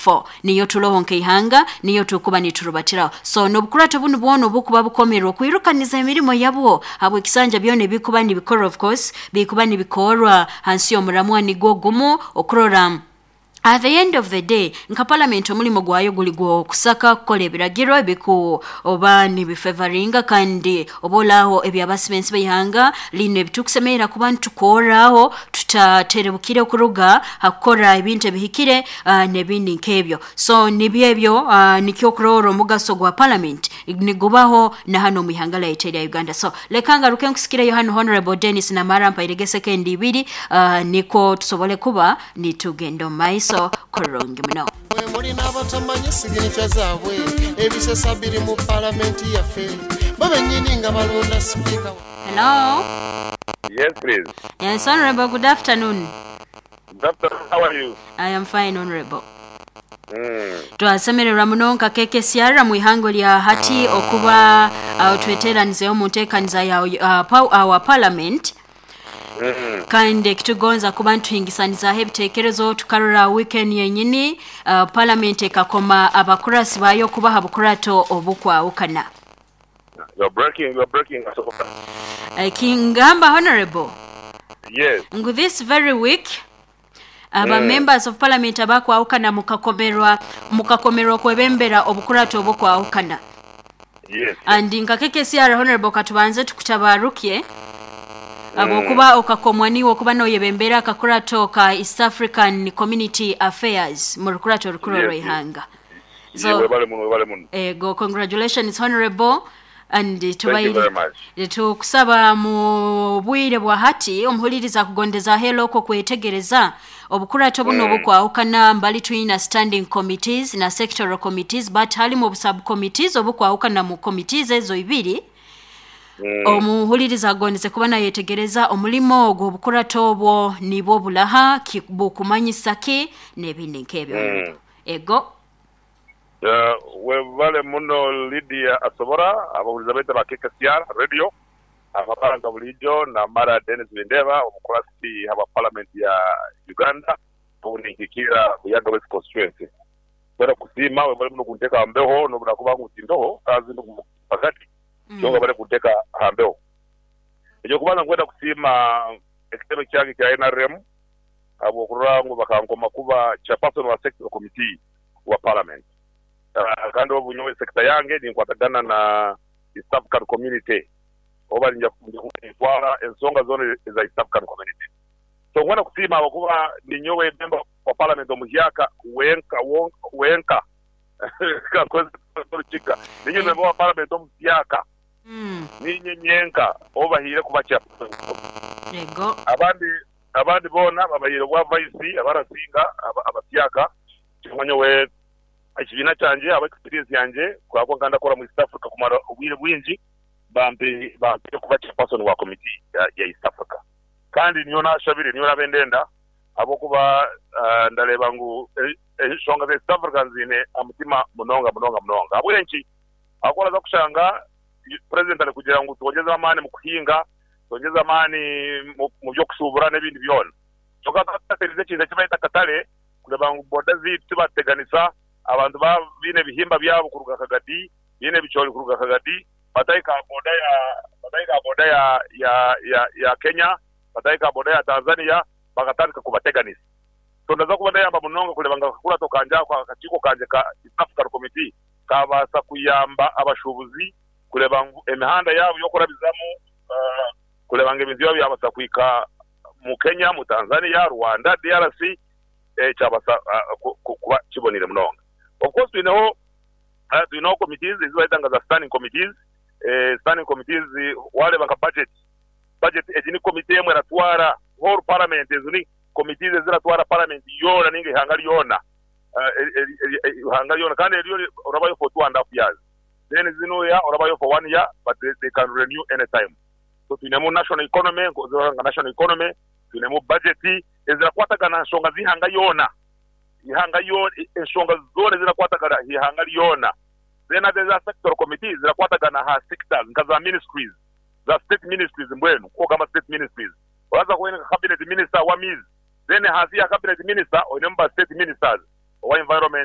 4 niyo turoho nk'ihanga, niyo tukuba niturubatiraho. So n'obukurato bunu bwona obukuba bukomerwe okwirukaniza emirimo yabwo habw'ekisanja byona ebikuba nibikora, of course bikuba nibikorwa hansi y'omuramwa nigwo gumu okurora at the end of the day nka parliament omulimo gwayo guli gw'okusaka kukora ebiragiro ebiku oba nibifevaringa kandi oba olaaho ebyabasi b'ensi b'ihanga lino ebitukusemerera kuba nitukorraho tutaterebukire okuruga ha kukora ebintu ebihikire n'ebindi nk'ebyo. So nibyo ebyo, nikyo okurora omugaso gwa parliament nigubaho na hanu omu ihanga lyaitu erya Uganda. So leka ngaruke nkusikireyo hanu Honorable Denis Namara, mpairege sekendi ibiri, nikwo tusobole kuba nitugenda omu maiso kurungi muno. Mwe muli n'abatamanyi siginikya zaabwe, ebisesa biri mu Palamenti yaffe, bo bennyini nga balonda Sipiika. Hello. Yes please. Yes honorable, good afternoon. Good afternoon, how are you? I am fine honorable. Twasemererwa muno nka KKCR mu ihango lya hati okuba tweteranizeho mu nteekaniza ya our parliament. Kandi ekitugonza kuba nituhingisanizaaho ebiteekerezo, tukarora weekend yenyini parliament ekakoma abakurasi baayo kubaha bukurato obukwahukana. You're breaking, you're breaking Asobola. Kingamba honorable. Yes. Ngu this very week aba members of parliament abakwahukana mukakomerwa mukakomerwa okwebembera obukurato obukwahukana. Yes. And nka KKCR honorable katubanze tukutabarukye habwokuba okakomwa niiwe okuba noyebembera akakurato ka East African Community Affairs mu rukurato orukuru orw'eihanga. So, webale muno, webale muno. Ego, congratulations honorable and Thank you tubaire very much. tukusaba mu bwire bwa hati omuhuliriza akugondezaaho ela okwo kwetegereza obukurato buno obukwahukana mbali twina standing committees na sectoral committees but halimu obu sub committees obukwahukana mu committees ezo ibiri. Omuhuliriza agondeze kuba nayetegereza omulimo ogwo obukurato obwo nibwo bulaha ki, bukumanyisa ki n'ebindi nk'ebyo. Ego. Webale muno Lydia Asobora, abahuliza baitu aba KKCR Radio, amabara nka buliijo Namara Denis Bindeba omukurasi habwa Palamenti ya Uganda obu ninkikiira Buyaga West Constituency. Kwenda kukusiima webale muno kunteeka aha mbeho nobu nakuba ngu tindoho kaazi ndi mpagati kyonka webale kunteeka aha mbeho. Eky'okubanza nkwenda kusiima ekitebe kyange ekya nrm ahabw'okurora ngu bakankoma kuba Chairperson wa Sectoral Committee wa Parliament. Kandi obu nyowe sector yange ninkwatagana na East African Community oba ninja kuba nintwara ensonga zoona eza East African Community. So nkwenda kusiima ahabw'okuba ninyowe member wa Parliament omuhyaka wenka wenka kankozese Orukiga, ninye member wa Parliament omuhyaka ninye nyenka ou bahaire kuba Chairperson. Abandi Abandi boona babahaire obwa vaisi abarasinga abasyaka. Kyonka nyowe ekibiina kyangye ahabwa experience yangye kuhabwa nka ndakora mu East Africa kumara obwire bwingi bampaire kuba chairperson wa committee ya East Africa. Kandi niyo nashabire niyo nabaire ndenda ahabw'okuba ndareeba ngu enshonga za East Africa nziine aha mutima munonga munonga munonga. Ahabw'enki? Ahabw'okuba oraza kushanga Purezidenti arikugira ngu twongyeze amaani omu kuhinga, twongyeze amaani omu by'okushuubura n'ebindi byona. Kwonka tutateerize ekintu eki bareeta akatare kureeba ngu boda zaitu tibaatuteganisa, abantu baaba baine ebihimba byabo kuruga Kagadi, baine ebicoori kuruga Kagadi, batahika aha boda ya batahika aha boda ya ya ya ya Kenya, batahika aha boda ya Tanzania bakatandika kubateganisa. So ndaza kuba ndayamba munonga kureeba ngu akakurato kangye ako, akakiiko kangye ka East African Committee kaabaasa kuyamba abashuubuzi kureeba ngu emihanda yaabo y'okurabizamu kureeba ngu ebintu byabo byabaasa kuhika mu Kenya, mu Tanzania, Rwanda, DRC kyabaasa kuba kiboneire munonga. Of course twineho twineho committees ezi bareeta nka za standing committees, standing committees waareeba nka budget, budget egi ni committee emwe eratwara whole parliament, ezo ni committees eziratwara parliament yoona ninga eihanga ryoona. Eihanga ryona kandi eryo orabayo for 2.5 years then zinuya orabayo for 1 year but they can renew any time. So twinemu national economy nka national economy, twinemu budget ezirakwatagana aha nshonga z'eihanga yoona, eihanga yoona enshonga zoona ezirakwatagana aha ihanga ryona. Then haza eza sectoral committee zirakwatagana aha sectors nka za ministries, za state ministries mbwenu nk'okugamba state ministries oraza kuba oine nka cabinet minister w'amaizi, Then ahansi ya cabinet minister oinemu ba state ministers owa environment.